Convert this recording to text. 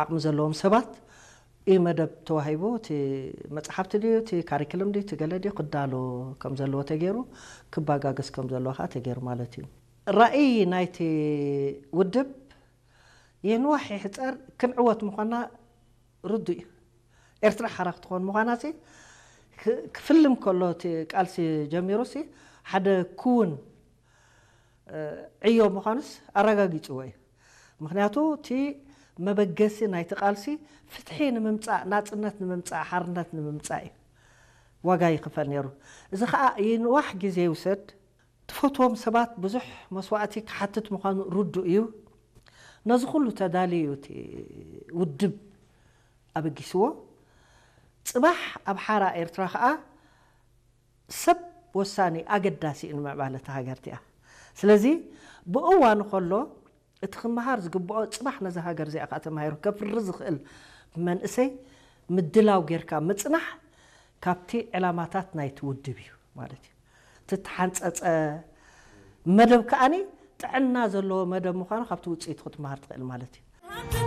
ዓቕሚ ዘለዎም ሰባት እዩ መደብ ተዋሂቡ። እቲ መፅሓፍቲ ድዩ፣ እቲ ካሪክለም ድዩ፣ እቲ ገለ ድዩ ክዳሎ ከም ዘለዎ ተገይሩ፣ ክባጋገስ ከም ዘለዎ ከዓ ተገይሩ ማለት እዩ። ራእይ ናይቲ ውድብ የንዋሕ ይሕፀር ክንዕወት ምዃና ርዱ እዩ። ኤርትራ ሓራ ክትኾን ምዃና ሲ ክፍልም ከሎ እቲ ቃልሲ ጀሚሩ ሲ ሓደ ክውን ዕዮ ምዃኑስ ኣረጋጊፅዎ እዩ። ምክንያቱ እቲ መበገሲ ናይቲ ቃልሲ ፍትሒ ንምምፃእ፣ ናፅነት ንምምፃእ፣ ሓርነት ንምምፃእ እዩ ዋጋ ይኽፈል ነይሩ። እዚ ከዓ ይንዋሕ ግዜ ይውሰድ፣ ትፈትዎም ሰባት ብዙሕ መስዋእቲ ክሓትት ምዃኑ ርዱእ እዩ። ነዚ ኩሉ ተዳልዩ እቲ ውድብ ኣበጊስዎ። ፅባሕ ኣብ ሓራ ኤርትራ ከዓ ሰብ ወሳኒ ኣገዳሲ እዩ ንምዕባለ እታ ሃገር እቲኣ። ስለዚ ብእዋኑ ከሎ እቲ ክመሃር ዝግብኦ ፅባሕ ነዚ ሃገር እዚኣ ከዓ ተማሂሩ ከፍሪ ዝኽእል መንእሰይ ምድላው ጌርካ ምፅናሕ ካብቲ ዕላማታት ናይቲ ውድብ እዩ ማለት እዩ። ትተሓንፀፀ መደብ ከዓኒ ጥዕና ዘለዎ መደብ ምዃኑ ካብቲ ውፅኢቱ ክትመሃር ትኽእል ማለት እዩ።